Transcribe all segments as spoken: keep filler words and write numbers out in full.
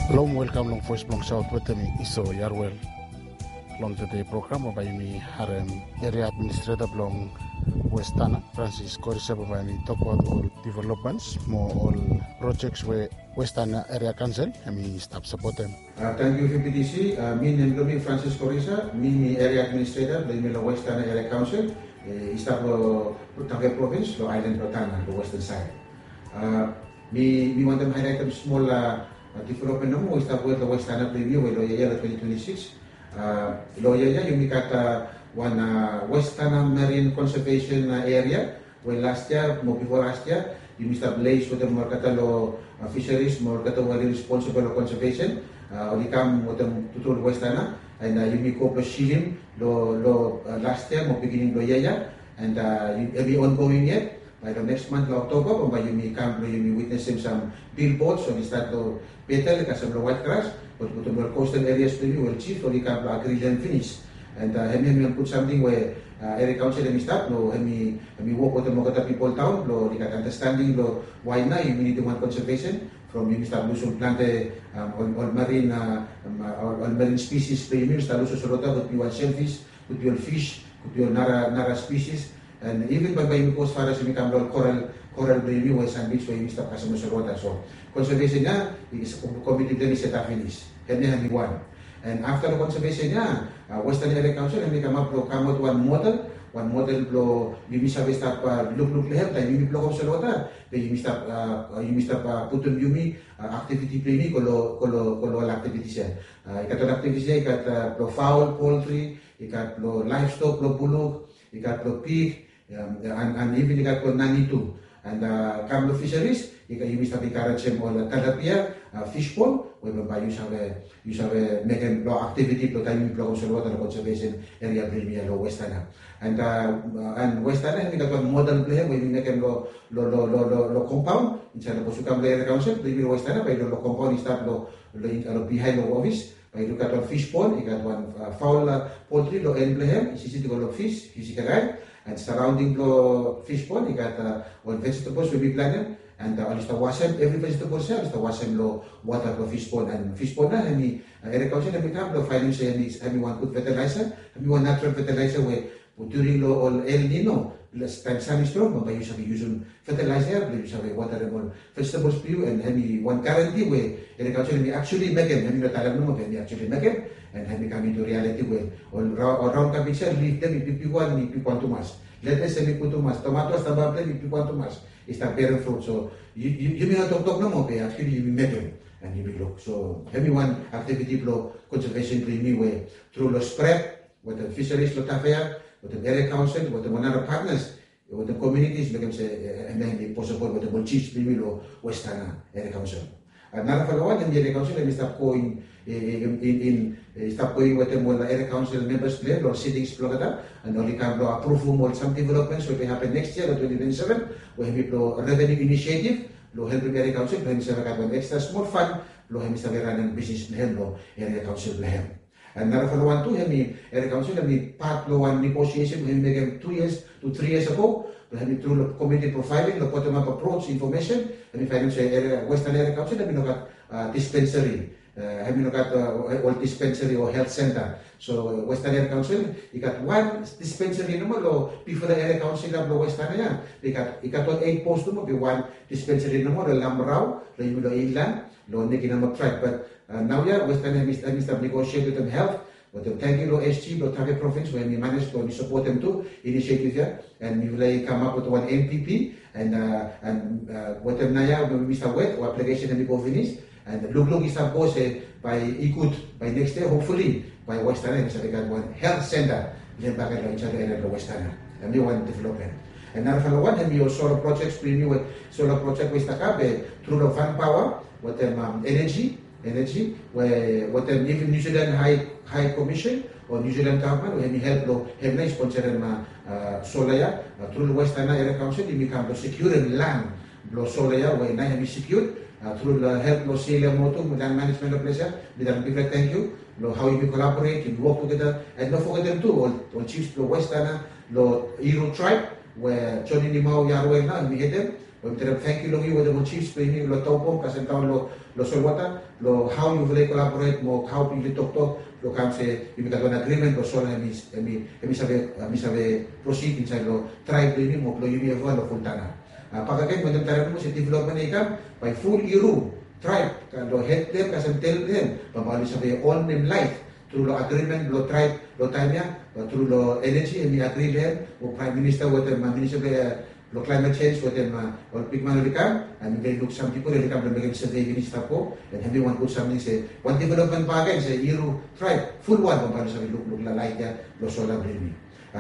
Halo, welkam long Voes blong Saot wetem mi, Iso Yarwel. Long tede program bae yumi harem eria administreta blong Westana, Francis Korisa, bae yumi tokbaot ol developments mo ol projects we Westana Eria Kaonsel hemi stap sapotem. Tangkiu, V P T C. Mi, nem blong mi Francis Korisa, mi, mi eria administreta blong yumi long Westana Eria Kaonsel, i stap long Tafea Provins, long aelan blong Tanna, long westan saed. Mi, mi wantem haelaetem smol development nomo we i stap wet long Westana blong yumi we long yia ya, long twenty twenty-six. Long yia ya yumi gat wan Westana Marine Conservation Area, we las yia mo bifo las yia yumi stap liaes wetem olgeta long fisheries mo olgeta we oli responsible long conservation. Oli kam wetem tutu long Westana, and yumi go blong silim long las yia mo beginning blong yia ya, and hemi ongoing yet. Bae long next month long October bambae yumi kam blong yumi witnesem sam billboards oli stat long Betel kasem long White Grass, ol putum ol coastal areas blong yumi we ol chief oli kam blong agri long hem finis. And hemi, hemi wan gud samting we Eria Kaonsel hemi stap blong hemi, hemi wok wetem olgeta pipol taon blong oli gat understanding blong wae nao yumi nidim wan conservation from yumi stap lusum plante ol, ol marine, ol marine species blong yumi, yumi stap lusum solwota, could be wan shellfish, could be ol fish, could be ol nara, nara species. And even bambae yumi go as far as yumi kam long ol coral, coral blong yumi we sand beach we yumi stap kasem long solwota. So conservation ya, komiti blong hem i setap finis. Hemia hemi wan. And afta long conservation ya, Westana Eria Kaonsel hemi kamap blong kamap wetem wan model, wan model blong yumi save stap lukluk long hem taem yumi blokem solwota, be yumi stap, yumi stap putum yumi aktiviti blong yumi go long, go long, go long ol aktivitis ya. I gat ol aktivitis ya, i gat blong faol, poultry, i gat blong livestock, blong buluk, i gat blong pig, and, and even i gat blong nani tu. And kam long fisheries, i gat, yumi stap encouragem ol tilapia fish pond we bambae yu save, yu save mekem long aktiviti blong taem yumi blokem solwota long conservation area blong yumi ya long Westana. And, and Westana hemi gat wan model blong hem we yumi mekem long, long, long, long, long, long compound insaed long, sapos yu kam long Eria Kaonsel blong yumi long Westana, bae yu long, long compound i stap long, long bihaen long ofis. Bae yu luk i gat wan fish pond, i gat wan faol, poultry long en blong hem, i siti go long fish, fish i kakae. And surrounding blong fish pond i gat ol vegetables we mi planem, and oli stap wasem, evri vegetables ya oli stap wasem long wota blong fish pond. And fish pond ya hemi, Eria Kaonsel hemi kam blong faenem se hemi, hemi wan gud fertilizer, hemi wan natural fertilizer we during long ol El Nino, taem san i strong bambae yu save yusum fertilizer ya blong yu save watarem ol vegetables blong yu, and hemi wan guarantee we Eria Kaonsel hemi actually mekem, hemi no talem nomo be hemi actually mekem. And hemi kam into reality we ol raon kabej ya, lif blong hem i bigbig wan, i bigwan tumas. Letes hemi gud tumas, tomato, sambal blong hem i bigwan tumas, i stap berem fruit. So yumi no toktok nomo be actually yumi mekem and yumi luk. So hemi wan aktiviti blong conservation blong yumi we tru long SPREP wetem fisheries long Tafea, wetem Eria Kaonsel, wetem ol nara partners, wetem communities, mekem se hemi posibol wetem ol chiefs blong yumi long Westana Eria Kaonsel. Narafala wan, hemi Eria Kaonsel hemi stap go in, in, in, i stap go in wetem ol Eria Kaonsel members blong hem long sittings blong olgeta, and oli kam blong aprovem ol sam developments we bae hapen next yia long twenty twenty-seven, we hemi blong revenue initiative blong helpem Eria Kaonsel blong hemi save gat wan extra smol fund blong hemi save ranem bisnis blong hem long Eria Kaonsel blong hem. And narafala wan tu, hemi Eria Kaonsel hemi pat long wan negotiation we hemi mekem two years to three years ago, blong hemi tru long community profiling, long bottom up approach information, hemi faenem se Westana Eria Kaonsel hemi no gat dispensary, hemi no gat ol dispensary o health center. So Westana Eria Kaonsel i gat wan dispensary nomo long bifo long Eria Kaonsel ya blong Westana ya. I gat, i gat ol eight post nomo be wan dispensary nomo long Lamrau, long yumi long inland, long Niki namo tribe. But naoia Westana hemi, hemi stap negotiate wetem health, wetem tangkiu long SG blong Tafea Provins we hemi manej blong hemi sapotem tu initiative ya. And mifala i kamap wetem wan NPP, and, and wetem naoia mi stap wet, ol application hemi go finis. And lukluk i stap go se bae i gud, bae next yia, hopefully, bae Westana hemi save gat wan health center blong hem bakegen long insaed long eria blong Westana. Hemi wan development. And narafala wan hemi ol solar projects blong yumi we, solar project we i stap kam be tru long Vanpower wetem energy, energy we wetem even New Zealand High, High Commission o New Zealand government we hemi help long hem nao i sponsorem solar ya. Tru long Westana Eria Kaonsel yumi kam blong sekiurem lan blong solar ya we nao hemi sekiu tru long help blong Seila Motu mo Land Management long ples ya. Mi talem bigfala tangkiu long hao yumi collaborate, yumi wok tugeta. And no fogetem tu ol, ol chiefs blong Westana, long Hiro tribe we Joni Nimau Yarwel nao hemi hedem, Yumi talem tangkiu long yu wetem ol chiefs blong yumi long Taupung kasem daon long solwota long hao yufala i kolaboret mo hao yufala i toktok long kam se yumi gat wan agrimen blong sola hemi save prosid insaed long traeb blong yumi mo blong yumi evriwan long Fultana. Bakegen wetem talem nomo se developmen i kam bae ful Iru traeb long hed blong hem kasem tel blong hem bambae oli save on nem laet tru long agrimen blong traeb long taem ya, tru long eneji hemi agri long hem mo praem minista wetem minista blong klaemet jenj wetem ol bigman oli kam. Hemi luk sam pipol oli kam blong mekem save finis i stap go. Hemi wan gud samting se wan developmen bakegen se Iru traeb fulwan bambae oli save lukluk long laet ya long sola blong yumi.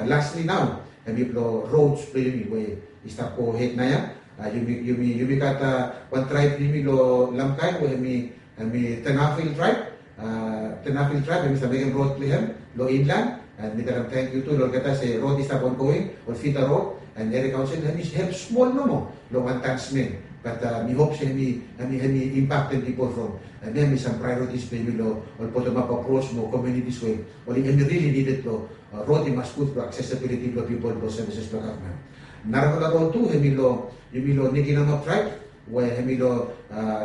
Lastli nao hemi blong rods blong yumi we i stap go hed naoia. Yumi gat wan traeb blong yumi long Lamkaen we hemi Tenafil traeb. Tenafil traeb hemi stap mekem rod blong hem long inlan. Mi talem tangkiu tu long olgeta se rod i stap ongoing ol fida rod. An eria kaonsel hemi help smol nomo long wan tansmen. Bat mi hop se hemi impaktem pipol from hemi hemi sam praeoritis blong yumi long ol botomap apros mo komiunitis we oli hemi rili nided long rod i mas gud blong aksesibiliti blong pipol blong sevises blong gavman. Narafala rod tu hemi long yumi long Nikinamap traeb we hemi long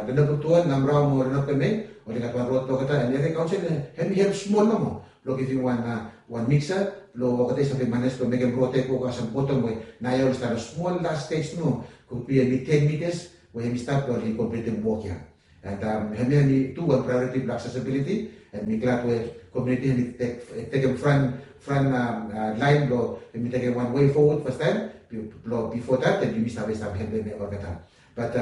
Lenabutuan, Namrao mo Lenapeme. Oli gat wan rod blong olgeta an eria kaonsel hemi help smol nomo blong givim wan wan miksa blong olgeta i save manej blong mekem rod ya i go kasem botom we naoia oli stap long smol las stej nomo. Kudbi hemi ten mitas we hemi stap blong oli komplitim wok ya. An hemia hemi tu wan praeoriti blong aksesibiliti. An mi glad we komiuniti hemi tekem fran fran laen blong hemi tekem wan wei fowod fastaem blong bifo dat an yumi save stap helpem olgeta. Bat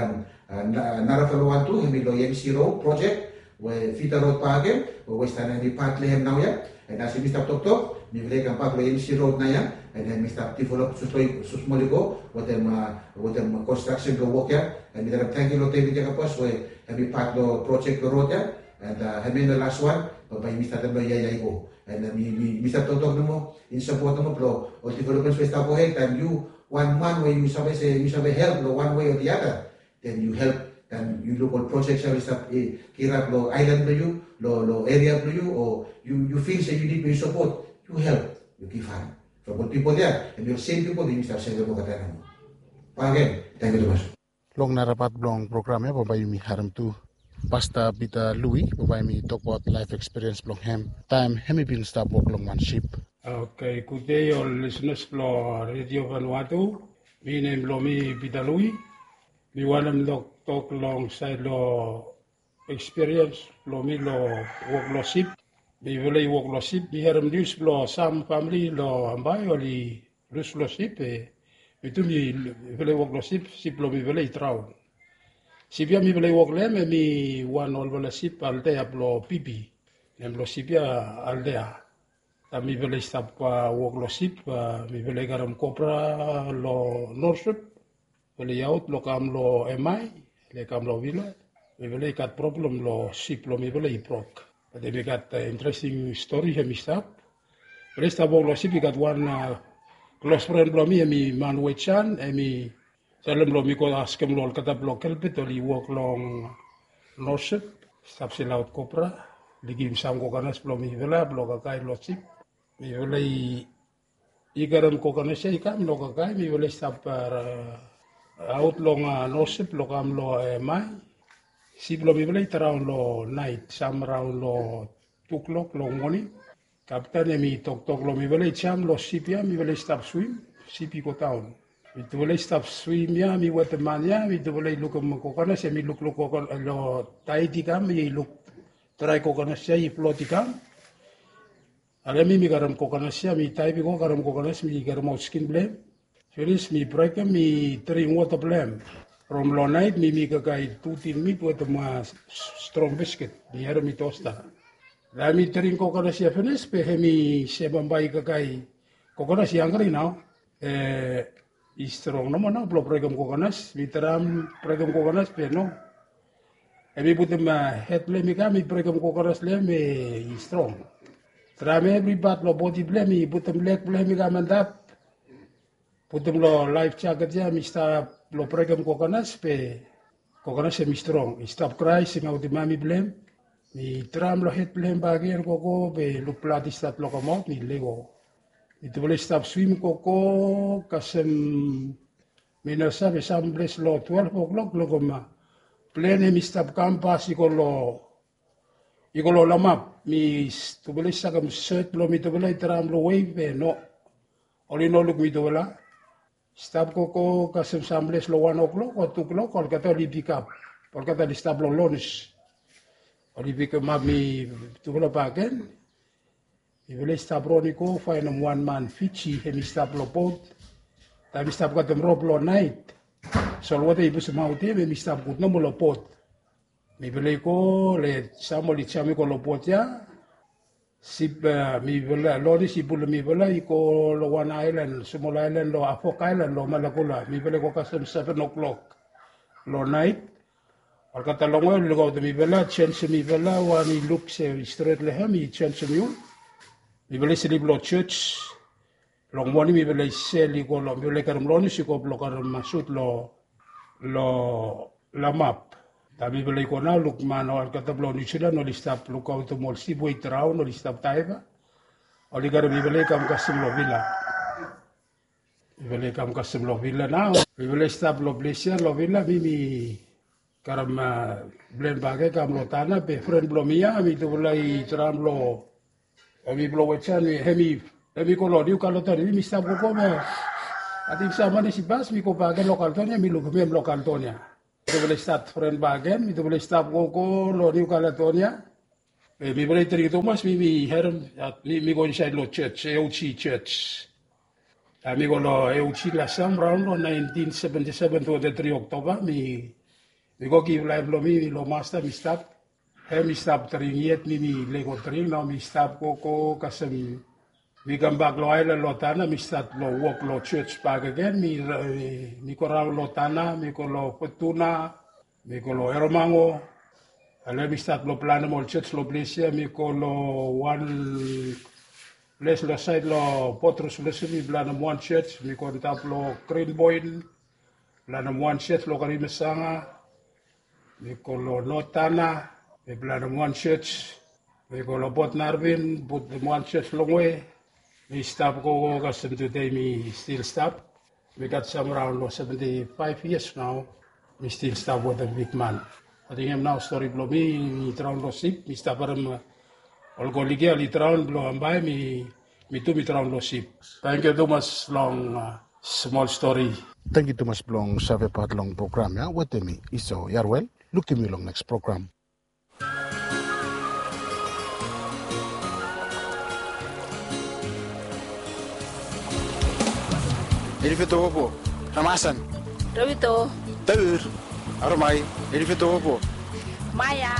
narafala wan tu hemi long EMC rod projek we fida rod bakegen we westana hemi pat long hem naoia. An as yumi stap toktok mifala i kambak long EMC rod naoia an hemi stap develop susmol i go wetem wetem konstraksen blong wok ya. An mi talem tangkiu long David Jakabos we hemi pat long projek blong rod ya. An hemia long las wan bambae yumi statem long yia ya i go. An mi stap toktok nomo in sapot nomo blong ol developments we i stap gohed taem yu wan man we yu save se yu save help long wan wei o the other. Then yu help taem yu luk ol projek ya oli stap kirap long aelan blong yu, long eria blong yu o yu fil se yu nid blong yu sapot, yu help, yu givhan. From ol pipol ya hemi ol sem pipol yumi stap sevem olgeta nomo. Bakegen tangkiu tumas. Long nara pat blong program ya bambae yumi harem tu Pasta Pita Lui bambae hemi tokbaot laef ekspiriens blong hem taem hemi bin stap wok long wan sip. Oke, gudei ol lisenas blong Redio Vanuatu. Mi nem blong mi Pita Lui. Mi wantem toktok long saed long ekspiriens blong mi long wok long sip. Mifala i wok long sip, mi harem nius blong sam famili long Ambae oli lus long sip. Mi tu mifala i wok long sip, sip blong mifala i draon. Sip ya mifala i wok long hem hemi wan olfala sip Aldea blong Bibi. Nem blong sip ya Aldea. Taem mifala i stap wok long sip, mifala i karem kopra long Norsep. Mifala i aot blong kam long Emai, mifala i kam long Vila. Mifala i gat problem long sip blong mifala i brok. Bat hemi gat interesting stori hemi stap. Mifala i stap wok long sip, i gat wan klos fren blong mi hemi man we Jan, hemi talem blong mi go askem long olgeta blong Kelbet oli wok long Norsep, stap selaot kopra, oli givim sam kokonas blong mifala blong kakae long sip. Mifala i karem kokonas ya i kam long kakae, mifala i stap aot long Norsep blong kam long Emai. Sip blong mifala i draon long naet, sam raon long tu klok long moning. Kapten hemi toktok long mifala i jam long sip ya, mifala i stap swim, sip i go daon. Mitufala i stap swim ya, mi wetem man ya, mitufala i lukim kokonas ya, mi lukluk long taet i kam, mi luk drae kokonas ya i flot i kam. Ale mi mi karem kokonas ya, mi daev i go karem kokonas, mi karemaot skin blong hem. Finis mi brekem, mi dring wota blong hem. From long naet mi mi kakae tu tin mit wetem strong bisket, mi harem i tosta. Taem mi dring kokonas ya finis, be hemi se bambae i kakae kokonas i hanggri nao. E, i strong nomo nao blong brekem kokonas, mi traem brekem kokonas be no. Hemi putum hed blong hem i kam, mi brekem kokonas long hem, e, i strong. Traem evri pat long bodi blong hem, mi putum leg blong hem i kam antap. Putum long laef jaket ya, mi stap long brekem kokonas, be kokonas hemi strong. I stap krae, singaotim mami blong hem. Mi traem long hed blong hem bakegen gogo, be luk blad i stat long kamaot, mi lego. Mitufala i stap swim gogo kasem Mi no save, samples long twelve o'clock long koma. Plen hemi stap kampas i go long, i go long lamap. Mi tufala i sakem set blong mitufala i traem long wei be no, oli no luk mitufala. Stap gogo kasem samples long wan o'clock o tu o'clock, olgeta oli pikap. Olgeta oli stap long lonj. Oli pikimap mitufala bakegen. Mifala i stap ron i go faenem wan man Fiji, hemi stap long bot. Taem i stap katem rop long naet, solwota i pusumaot hem, hemi stap gud nomo long bot. Mifala i go, le sam oli jam i go long bot ya. Sip, mifala, Lonis i pulum mifala i go long wan aelan, smol aelan long Afok Aelan long Malakula. Mifala i go kasem seven o'clock long naet. Olgeta longwe oli lukaotem mifala, jenjem mifala, wan i luk se i stret long hem, i jenjem yul. Mifala i slip long jos. Long moning mifala i sel i go long, mifala i karem Lonis i go blong karem sut long, long lamap. Taem mifala i go nao, luk man olgeta blong Niu Jilan oli stap lukaotem ol sip we i draon, oli stap daeva. Oli karem mifala i kam kasem long vila. Mifala i kam kasem long vila nao. Mifala i stap long ples ya long vila, mi mi karem plen bakegen kam long Tanna, be fren blong mi ya, mitufala i traem long, hemi blong Wetsan, hemi, hemi go long Niu Kaletonia, mi mi stap gogo be ating sam man i sipas, mi go bakegen long Kaletonia, mi lukim hem long Kaletonia. Mitufala i stat fren bakegen, mitufala i stap gogo long Niu Kaletonia. Be mifala i dring tumas, mi mi harem, mi mi go insaed long jos, A O G jos. Taem mi go long A O G lastam raon long naentin seventi seven, twenti tri Oktoba, mi, mi go givim laef blong mi long Masta, mi stap. Hem mi stap dring yet, mi mi lego dring, nao mi stap gogo kasem, mi kambak long aelan long Tanna, mi stat long wok long jos bakegen, mi, mi go raon long Tanna, mi go long Futuna, mi go long Eromango. Ale mi stat blong planem ol jos long ples ya, mi go long wan ples long saed long Port Roselosem, mi planem wan jos, mi go antap long Green Point, planem wan jos long Karimasanga, mi go long North Tanna, mi planem wan jos, mi go long Port Narvin, putum wan jos longwe. Mi stap gogo kasem tude mi stil stap. Mi gat sam raon long seventi faef yias nao, mi stil stap wetem bigman. Ating hem nao stori blong mi, mi draon long sip, mi stap harem ol koligi ya oli draon blong bambae mi, mi tu mi draon long sip. Tangkiu tumas long smol stori. Tangkiu tumas blong save pat long program ya wetem mi, Iso Yarwel. Lukim yu long neks program. Elifetowopo, Ramasan. Rowito. Taur. Aromai. Elifetowopo. Maya.